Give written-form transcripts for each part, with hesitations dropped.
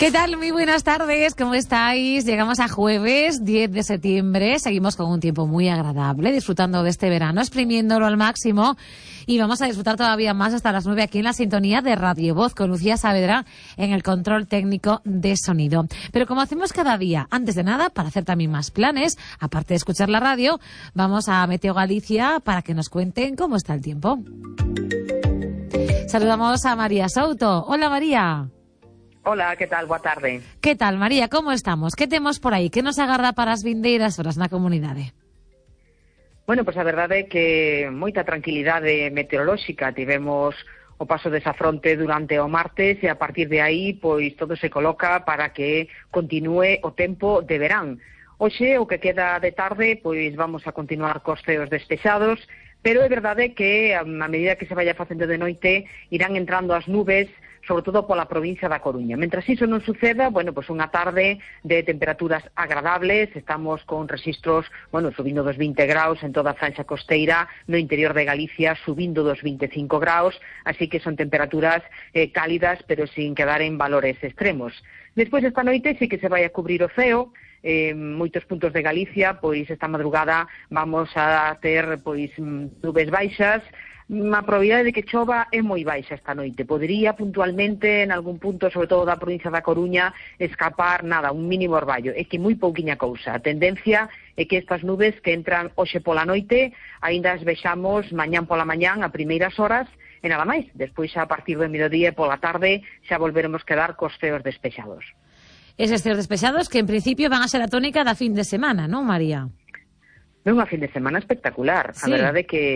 ¿Qué tal? Muy buenas tardes, ¿cómo estáis? Llegamos a jueves 10 de septiembre, seguimos con un tiempo muy agradable, disfrutando de este verano, exprimiéndolo al máximo, y vamos a disfrutar todavía más hasta las 9 aquí en la sintonía de Radio Voz, con Lucía Saavedra en el control técnico de sonido. Pero como hacemos cada día, antes de nada, para hacer también más planes, aparte de escuchar la radio, vamos a Meteo Galicia para que nos cuenten cómo está el tiempo. Saludamos a María Souto. Hola, María. Hola, que tal? Boa tarde. Que tal, María? Como estamos? Que temos por aí? Que nos agarda para as vindeiras horas na comunidade? Bueno, pois a verdade é que moita tranquilidade meteorolóxica. Tivemos o paso desa fronte durante o martes e a partir de aí pois todo se coloca para que continúe o tempo de verán. Hoxe, o que queda de tarde, pois vamos a continuar cos ceos despexados, pero é verdade que a medida que se vaya facendo de noite irán entrando as nubes, sobre todo pola provincia da Coruña. Mentras iso non suceda, bueno, pois unha tarde de temperaturas agradables, estamos con registros, bueno, subindo dos 20 graus en toda a franxa costeira, no interior de Galicia subindo dos 25 graus, así que son temperaturas cálidas, pero sin quedar en valores extremos. Despois esta noite sí que se vai a cubrir o ceo, moitos puntos de Galicia, pois esta madrugada vamos a ter pois nubes baixas. A probabilidade de que chova é moi baixa esta noite. Podería puntualmente en algún punto, sobre todo da provincia da Coruña, escapar un mínimo orballo. É que moi pouquiña cousa. A tendencia é que estas nubes que entran hoxe pola noite, aínda as vexamos mañán pola mañán a primeiras horas e nada máis. Despois xa a partir do mediodía e pola tarde xa volveremos quedar cos ceos despexados. Eses ceos despexados que en principio van a ser a tónica da fin de semana, non, María? É unha fin de semana espectacular. Sí. A verdade é que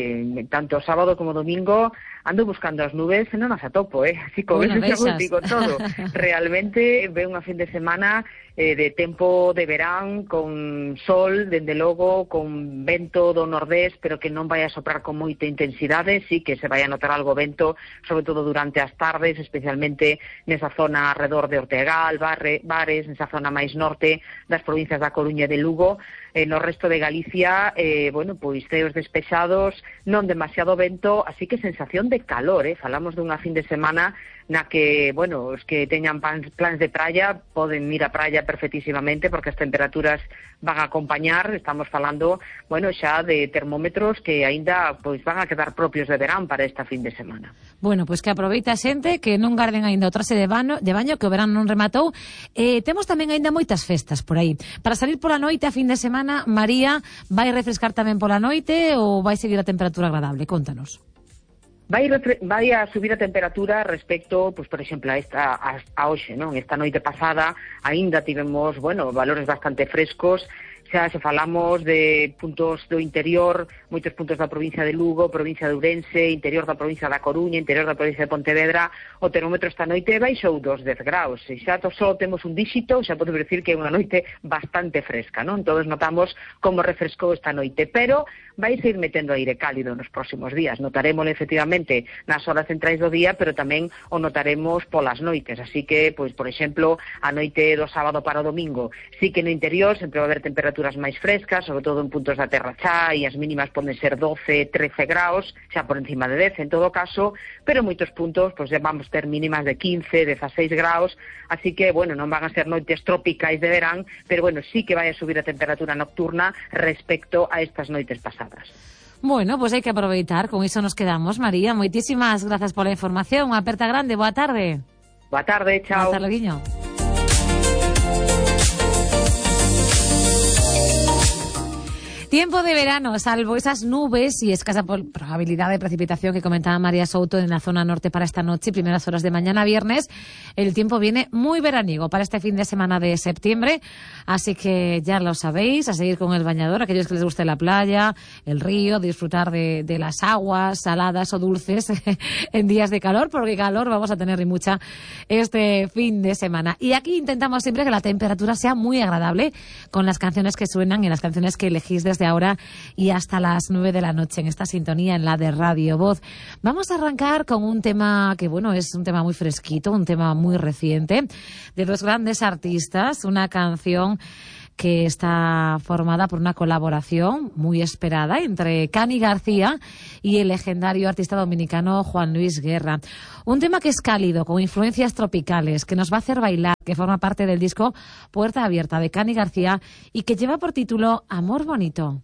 tanto sábado como domingo ando buscando as nubes e non as atopo, así como Bueno, eso digo todo. Realmente ve unha fin de semana de tempo de verán, con sol, dende logo, con vento do nordés, pero que non vai a soprar con moita intensidade, sí que se vai a notar algo vento, sobre todo durante as tardes, especialmente nesa zona alrededor de Ortegal, Bares, nesa zona máis norte das provincias da Coruña e de Lugo. No resto de Galicia, bueno, pois ceos despexados, non demasiado vento, así que sensación de calor, falamos dunha fin de semana na que, bueno, os que teñan plans de praia poden ir á praia perfectísimamente porque as temperaturas van a acompañar. Estamos falando, bueno, xa de termómetros que aínda pois van a quedar propios de verán para esta fin de semana. Bueno, pois que aproveite a xente, que non garden aínda o traxe de baño, que o verán non rematou. Temos tamén aínda moitas festas por aí. Para salir pola noite a fin de semana, María, vai refrescar tamén pola noite ou vai seguir a temperatura agradable? Contanos. Vai a subir a temperatura respecto, pues, por exemplo, a hoxe, non? Esta noite pasada aínda tivemos, bueno, valores bastante frescos. Xa se falamos de puntos do interior, moitos puntos da provincia de Lugo, provincia de Ourense, interior da provincia da Coruña, interior da provincia de Pontevedra, o termómetro esta noite baixou 2 graus. E xa só temos un díxito, xa podemos decir que é unha noite bastante fresca, non? Todos notamos como refrescou esta noite, pero vai ir metendo aire cálido nos próximos días. Notaremos efectivamente nas horas centrais do día, pero tamén o notaremos polas noites. Así que, pois, por exemplo, a noite do sábado para o domingo, sí que no interior sempre vai haber temperaturas máis frescas, sobre todo en puntos da Terra Chá, e as mínimas poden ser 12, 13 graus, xa por encima de 10 en todo caso, pero en moitos puntos pois vamos ter mínimas de 15, 16 graus, así que, bueno, non van a ser noites tropicais de verán, pero, bueno, sí que vai a subir a temperatura nocturna respecto a estas noites pasadas. Bueno, pois hai que aproveitar, con iso nos quedamos, María. Moitísimas grazas pola información, unha aperta grande, boa tarde. Boa tarde, chao. Boa tarde, Guiño. Tiempo de verano, salvo esas nubes y escasa probabilidad de precipitación que comentaba María Souto en la zona norte para esta noche y primeras horas de mañana viernes, el tiempo viene muy veraniego para este fin de semana de septiembre, así que ya lo sabéis, a seguir con el bañador, aquellos que les guste la playa, el río, disfrutar de las aguas saladas o dulces en días de calor, porque calor vamos a tener y mucha este fin de semana. Y aquí intentamos siempre que la temperatura sea muy agradable con las canciones que suenan y las canciones que elegís desde ahora y hasta las 9 de la noche en esta sintonía, en la de Radio Voz. Vamos a arrancar con un tema que, bueno, es un tema muy fresquito, un tema muy reciente, de dos grandes artistas, una canción que está formada por una colaboración muy esperada entre Cani García y el legendario artista dominicano Juan Luis Guerra. Un tema que es cálido, con influencias tropicales, que nos va a hacer bailar, que forma parte del disco Puerta Abierta de Cani García y que lleva por título Amor Bonito.